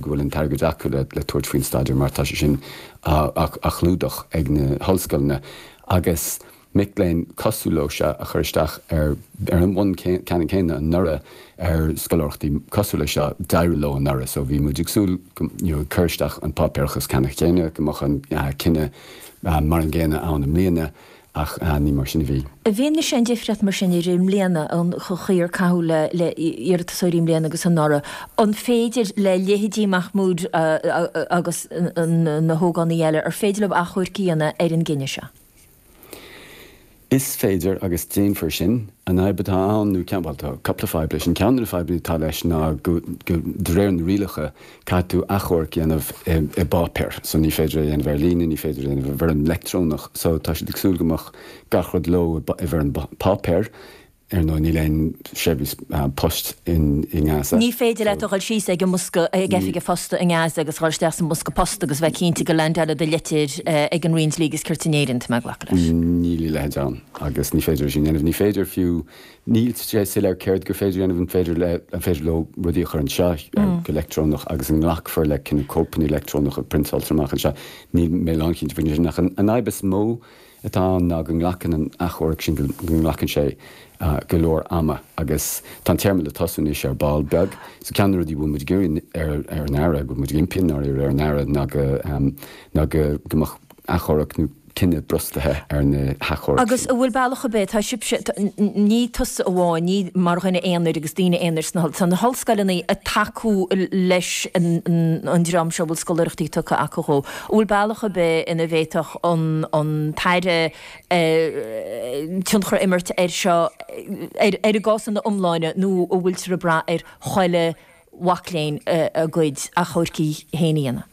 go bhfuil an t-airgead acu le tabhairt faoin staidéar mar tá sé sin á chlúdach ag na hollscoileanna agus mic léinn cosúil leo seo a chuir isteach ar ar an mbonn ceannann céanna anuraidh ar scoláireachtaí cosúil leis seo, d'éirigh leo anuraidh so bhí muid ag súil go you know ag cur isteach an páipéarachas ceannann céanna go mbeadh an cinneadh mar an gcéanna ann i mbliana ach ní mar sin a bhí. I bhfianaise an difríocht mar sin idir i mbliana, an chaoi ar caitheadh le hiarratasóirí i mbliana agus anuraidh, an féidir le leithéidí Mahmoud agus na hógánaigh eile, ar féidir leo achomharc a dhéanamh ar an gcinneadh seo? Is féidir agus déanfar sin. An fhadhb atá ann, nó ceann, bhuel, tá cúpla fadhb leis. An ceann de na fadhbanna atá leis ná go, go, de réir na rialacha, caithfidh tú achomharc a dhéanamh i, i bpáipéar. So ní féidir é a dhéanamh ar líne, ní féidir é a dhéanamh i bhfoirm leictreonach. So tá siad ag súil go mbeadh gach rud leo i, i bhfoirm páipéir. Ar ndóigh, níl aon seirbhís poist i nGaza. Ní féidir leat a dhul síos ag an mbosca, ag oifig an phosta i nGaza agus a dhul isteach sa mbosca post agus bheith cinnte go leaindeálfaidh do litir ag an Roinn Dlí agus Cirt in Éirinn, tá mé ag glacadh leis. Níl a leithéid ann agus ní féidir é sin a dhéanamh. Ní féidir fiú, níl sé soiléir céard gur féidir a dhéanamh, an féidir le, an féidir leo rudaí a chur anseo go leictreonach agus an nglacfar le cineál cóipeanna leictreonacha priontáilte amach anseo. Níl mé lánchinnte faoin sin ach an fhadhb is mó atá ann ná go nglacann an achomharc sin, go nglacann sé go leor ama agus tá an téarma le tosú anois ar ball beag. So ceann de na rudaí a bhfuil muid ag iarraidh ar ar an Aire, go bhfuil muid ag impí i ndáiríre ar an Aire ná go ná go go mbeadh achomharc nó cinneadh brostaithe ar na hachomhairc Agus an bhfuil bealach ar bith, tá sibhse, ní tusa amháin, ní mar dhuine aonair agus daoine aonair sna, tá na hollscoileanna ag tacú leis an dream seo a bhfuil scoláireachtaí tugtha acu dhó. An bhfuil bealach ar bith ina bhféadfadh an tAire tionchar a imirt air seo, ar an gcás ina iomláine, nó an bhfuiltear ag brath ar chuile mhac léinn a gcuid achomhaircí féin a dhéanamh?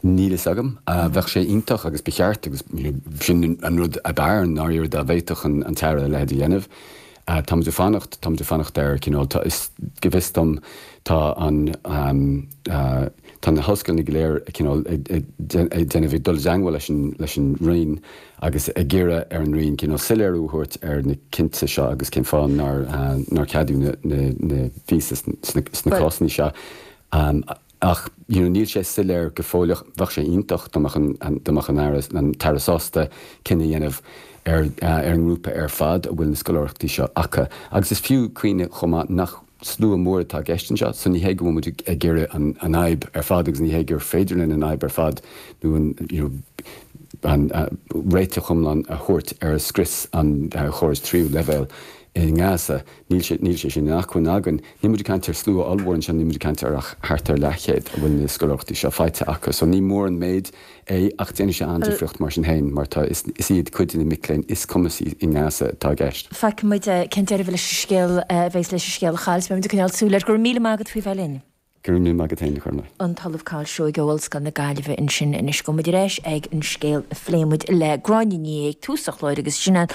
Níl fhios agam. Bheadh sé iontach agus ba cheart agus sin an rud ab fhearr i ndáiríre dá bhféadfadh an tAire a leithéid a dhéanamh. Táimid ag fanacht, táimid ag fanacht ar cineál, tá, is, go bhfios dom, tá an, tá na hollscoileanna go léir cineál ag, ag, ag déanamh, ag dul i dteangmháil leis an, leis an Roinn agus ag iarraidh ar an Roinn cineál soiléiriú a thabhairt ar na cinnte seo agus cén fáth nár, nár ceadaíodh na, na, na víosaí sna, sna cásanna seo. Ach you know níl sé soiléir go fóill ach bheadh sé iontach dá mbeadh an dá mbeadh an Aire an tAire sásta cinneadh a dhéanamh ar ar an ngrúpa ar fad a bhfuil na scoláireachtaí seo acu. Agus is fiú cuimhneamh chomh maith nach slua mór atá i gceist anseo so ní hé go bhfuil muid ag iarraidh an an fhadhb ar fad agus ní hé gur féidir linn an fhadhb ar fad nó an you know an réiteach iomlán a thabhairt ar scrios an chórais tríú leibhéal i nGaza. Níl sé, níl sé sin in acmhainn againn. Níl muid ag caint ar slua ollmhór anseo, níl muid ag caint ar ach thart ar leathchéad a bhfuil na scoláireachtaí seo faighte acu. So ní mór an méid é ach déanfaidh sé an-difríocht mar sin féin mar tá, is, is iad cuid de na mic léinn is cumasaí i nGaza atá i gceist. Feicfidh muid cén deireadh leis an scéal a bheas leis an scéal a Chathal. Beidh muid ag coinneáil súil air. Go raibh míle maith agat faoi bheith linn. Go raibh míle maith agat féin, a Chormaic. An tOllamh Cathal Seoighe ó Ollscoil na Gaillimhe ansin anois. Gabhfaidh muid ar ais ag an scéal a phléigh muid le Gráinne Ní Aodha ag tús an chláir agus sin an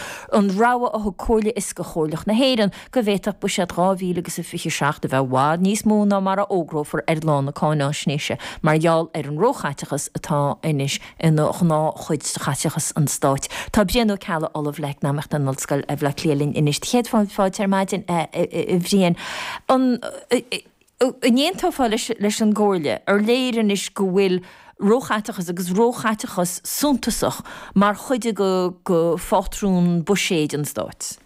rabhadh a thug Comhairle Fhioscach Chomhairleach na hÉireann go bhféadfadh buiséad 2027 a bheith i bhfad níos mó ná mar a fhógrófar ar lá na cáináisnéise mar gheall ar an róchaiteachas atá anois ina ghnáthchuid de chaiteachas an stáit. Tá Brian Ó Ceallaigh, Ollamh le hEacnamaíocht in Ollscoil Bhaile Átha Cliath linn anois. Chéad fáilte ar maidin, a Bhriain. An n-aontófá leis an gComhairle? Ar léir anois go bhfuil róchaiteachas, agus róchaiteachas suntasach, mar chuid de phátrún buiséid an stáit?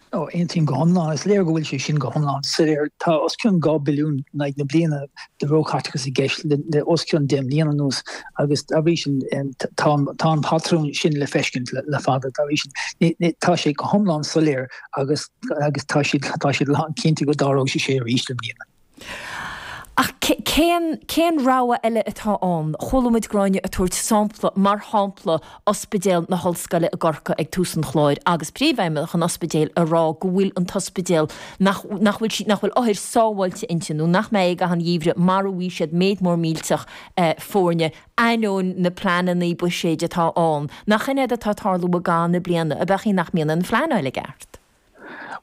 Ó, aontaím go hiomlán. Is léir go bhfuil sé sin go hiomlán soiléir. Tá os cionn 2 billiún in aghaidh na bliana de róchaiteachas i gceist le os cionn 10 mbliana anuas agus dá bhrí sin tá an patrún sin le feiscint le fada. Dá bhrí sin tá sé go hiomlán soiléir agus agus tá siad tá siad lán cinnte go dtarlóidh sé sé arís i mbliana. Ach cén cén rogha eile atá ann? Chuala muid Gráinne ag tabhairt sampla, mar shampla Ospidéal na hOllscoile i gCorcaigh ag tús an chláir agus príomhfheidhmeannach an ospidéil ag rá go bhfuil an t-ospidéal, nach nach bhfuil nach bhfuil othair sábháilte inti nó nach mbeidh i gcaitheamh an gheimhridh mara bhfaighidh siad méid mór millteach foirne, ainneoin na pleananna buiséid atá ann. Nach in é atá ag tarlú i gcaitheamh na bliana, ab ea nach mbíonn an phleanáil i gceart?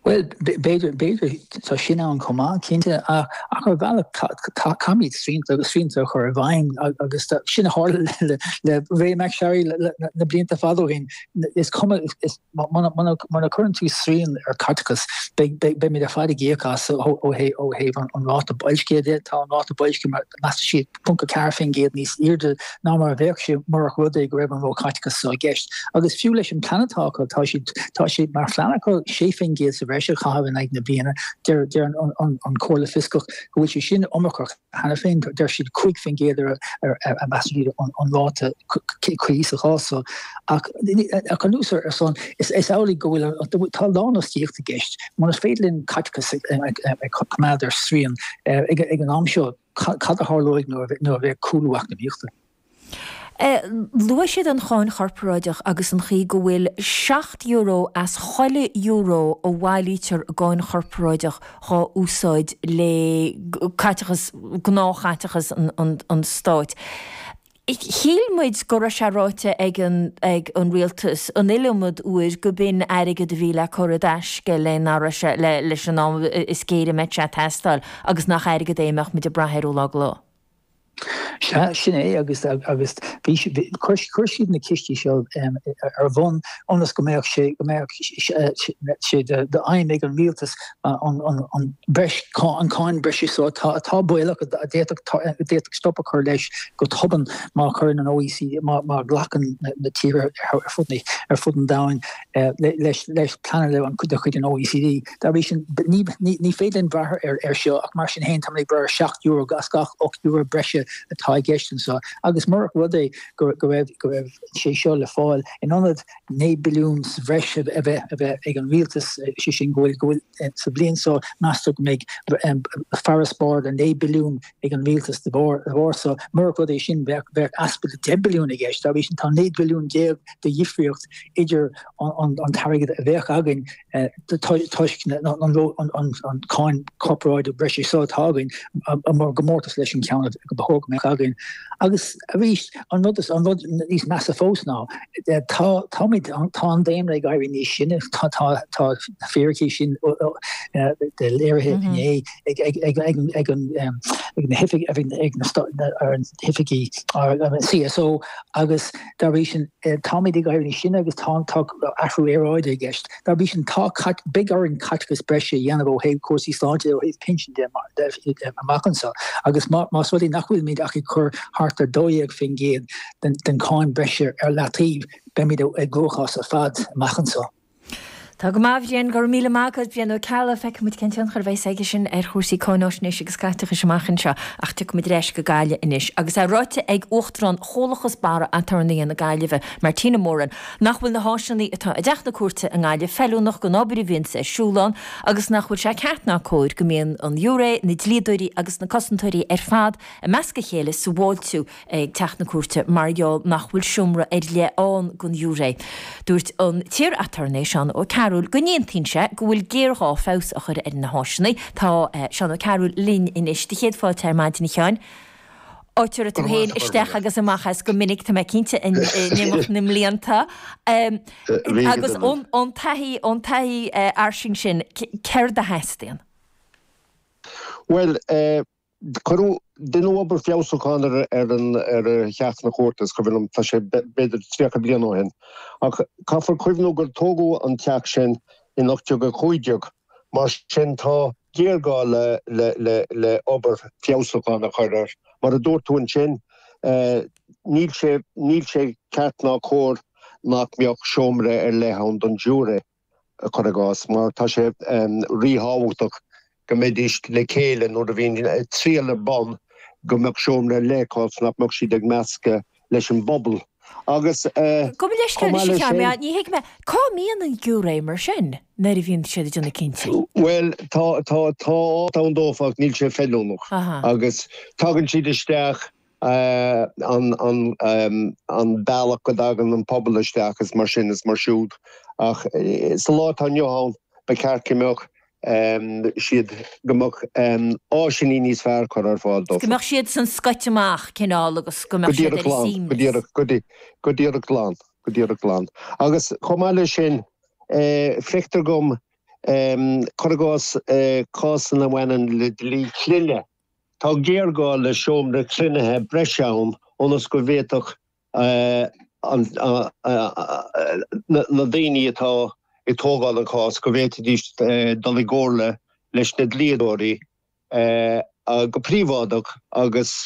Bhuel, b'fhéidir, b'fhéidir, tá sin ann chomh maith, cinnte, ach ar bhealach caithfimid srianta, srianta a chur i bhfeidhm agus sin a tharla le Ray MacSharry na blianta fada ó shin. Is cuma, muna gcuireann tú srian ar chaiteachas, beimid ar fad ag íoc as ó thaobh an ráta boilscithe de. Tá an ráta boilscithe, measann siad, 0.4% níos airde ná mar a bheadh sé murach rud é go raibh an róchaiteachas seo i gceist. Agus fiú leis an bplean atá acu, tá siad, tá sé mar phlean acu 6% sa bhreis a chaitheamh in aghaidh na bliana. Deir, deir an, an, an Comhairle Fioscach go bhfuil sé sin iomarcach cheana féin. Deir siad 5% ar, ar, a measann siad an, an ráta cuí sa chás seo. Ach, ach anuas ar san, is, is amhlaidh go bhfuil, tá lánfhostaíocht i gceist. Mura féidir linn caiteachas a, a, a choimeád ar srian ag, ag an am seo, Cad a tharlóidh nuair a bheidh cúlú eacnamaíochta? Luaigh siad an cháin chorparáideach agus an chaoi go bhfuil €7 as chuile euro a bhailítear i gcáin chorparáideach dhá úsáid le caiteachas, gnáthchaiteachas an stáit. Shíl muid go raibh sé ráite ag an ag an rialtas an iliomad uair go b'in airgead a bhí le cur i dtaisce le nach raibh sé le leis an am is géire a mbeadh sé ag teastáil agus nach airgead é a mbeadh muid ag brath air ó lá go lá. Sea, sin é agus agus bhí chuir chuir siad na cistí seo ar bun ionas go mbeadh sé go mbeadh sé d'aidhm ag an rialtas an breis, an cáin breise so atá atá baolach a d'fhéadfadh stop a chur leis go tobann má chuireann an OECD, má ghlacann na tíortha ar fud ar fud an domhain leis leis pleananna de chuid an OECD. Dá bhrí sin, ní ní féidir linn brath ar ar seo ach mar sin féin táimid ag brath ar €7 as gach €8 breise atá i gceist anseo agus murach rud é go go raibh go raibh sé seo le fáil in ionad 9 billiún sa bhreis a bheith a bheith ag an rialtas, sé sin go bhfuil go bhfuil sa bhliain seo meastar go mbeidh farasbarr de 9 billiún ag an rialtas de bharr de bharr so. Murach rud é sin bheadh bheadh easpa de 10 billiún i gceist. Dá bhrí sin tá 19 billiún de dhifríocht idir an an t-airgead a bheadh againn toisc an cáin corparáideach breise seo atá againn i gcomórtas leis an ceann ba chóir go mbeadh againn. Agus arís, an rud an rud níos measa fós ná tá táimid tá an daonra ag éirí níos sine, tá tá tá na fíricí sin léirithe inné ag ag ag ag ag an ag na hoifig ag na ar an hoifigí an CSO agus dá bhrí sin táimid ag éirí níos sine agus tá tá athrú aeráide i gceist. Dá bhrí sin, tá, beidh orainn caiteachas breise a dhéanamh ó thaobh cúrsaí sláinte, ó thaobh pinsin de amach anseo agus más rud é nach bhfuilimid ach ag cur thart ar 12% den cháin breise ar leataobh, beimid i gcruachás ar fad amach anseo. Tá go maith, a Bhriain. Go raibh míle maith agat, Brian Ó Ceallaigh. Feicfidh muid cén tionchar a bheas aige sin ar chúrsaí cáináisnéise agus caiteachais amach anseo. Ach tiocfaidh muid ar ais go Gaillimh anois. Agus é ráite ag Uachtarán Chomhlachas Barra Aturnaetha na Gaillimhe, Martina Moran, nach bhfuil na háiseanna atá i dTeach na Cúirte i nGaillimh feiliúnach don obair a bhíonns ar siúl ann agus nach bhfuil sé ceart ná cóir go mbíonn an ghiúiré, na dlíodóirí agus na cosantóirí ar fad i measc a chéile sa bhfáiltiú ag Teach na Cúirte mar gheall nach bhfuil seomra ar leith ann don ghiúiré. Dúirt an t-iar-aturnae Seán Ó Cearúil go n-aontaíonn sé go bhfuil géarghá feabhas a chur ar na háiseanna. Tá Seán Ó Cearúil linn anois. Do chéad fáilte ar maidin a Sheáin. Áit a raibh tú féin isteach agus amach as go minic, tá mé cinnte, in imeacht na mblianta. Agus ón taithí, ón taithí fhairsing sin, céard a theastaíonn? Bhuel, cuireadh, deineadh obair feabhsúcháin ar ar an ar theach na cúirte, is cuimhin liom, tá sé b'fhéidir 30 bliain ó shin. Ach caithfear cuimhniú gur tógadh an teach sin in 1815, mar sin tá géarghá le obair feabhsúcháin a chur air. Mar a dúirt tú ansin, níl sé, níl sé ceart ná cóir nach mbeadh seomra ar leith ann don ghiúiré, cuir i gcás, mar tá sé ríthábhachtach go mbeidís le chéile nuair a bhíonn triail ar bun, go mbeadh seomra ar leith acu, nach mbeadh siad ag meascadh leis an bpobal. Agus Gabh mo leithscéal anois a Sheáin, ní thuig mé, cá mbíonn an giúiré mar sin nuair a bhíonn siad ag déanamh cinntí? Bhuel, tá, tá, tá áit ann dófa ach níl sé feiliúnach. Agus tagann siad isteach an, an, an bealach go dtagann an pobal isteach is mar sin is mar siúd. Ach sa lá atá inniu ann, ba cheart go mbeadh siad, go mbeadh áiseanna níos fearr curtha ar fáil dófa. Go mbeadh siad san scoite amach, cineál, agus go mbeadh siad ar a suaimhneas. Go díreach, go díreach, go díreach glan, go díreach glan. Agus chomh maith leis sin, feictear dom. Cuir i gcás, cásanna a bhaineann le dlí clainne. Tá géarghá le seomra cruinnithe breise ann ionas go bhféadfadh na daoine atá ag tógáil an chás go bhféadfaidís dul i gcomhairle leis na dlíodóirí go príobháideach agus.